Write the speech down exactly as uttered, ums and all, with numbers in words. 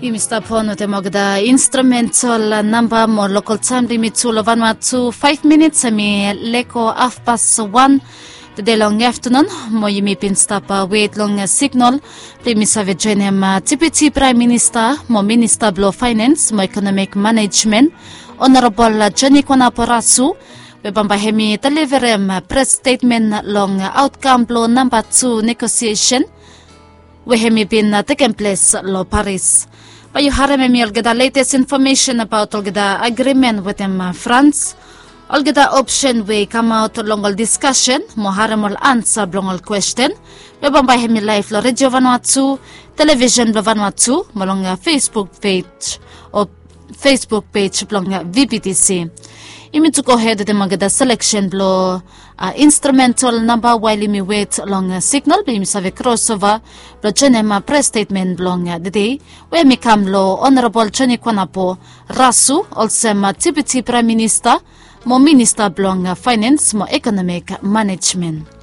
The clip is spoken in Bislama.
Yumi stap on wetem olgeta instrumental namba mo lokal taem blong yumi tu long Vanuatu. Faef minits hemi leko hafpas wan tede long aftanun, mo yumi bin stap wet long signal blong yumi save joenem Deputi Praem Minista mo Minista blong Faenens mo Ekonomik Manejmen, Honorabol Joni Kuanapo Rasu, we bambae hemi deliverem pres stetmen long aotkam blong namba tu negosiesen we hemi bin tekem ples long Paris. Bae yu harem hemi olgeta letes infomesen abaot olgeta agrimen wetem Frans, olgeta opsen we i kamaot long ol diskasen mo harem ol ansa blong ol kwesten we bambae hemi laef long Redio Vanuatu, Televisen blong Vanuatu mo long Facebook pej o Facebook pej blong VBTC. Yumi tu gohed wetem olgeta seleksen blong instrumental namba wael yumi wet long signal blong yumi save krosova blong joenem pres stetmen blong tede we hemi kam long Honorabol Joni Kuanapo Rasu olsem Deputi Praem Minista mo Minista blong Faenens mo Ekonomik Manejmen.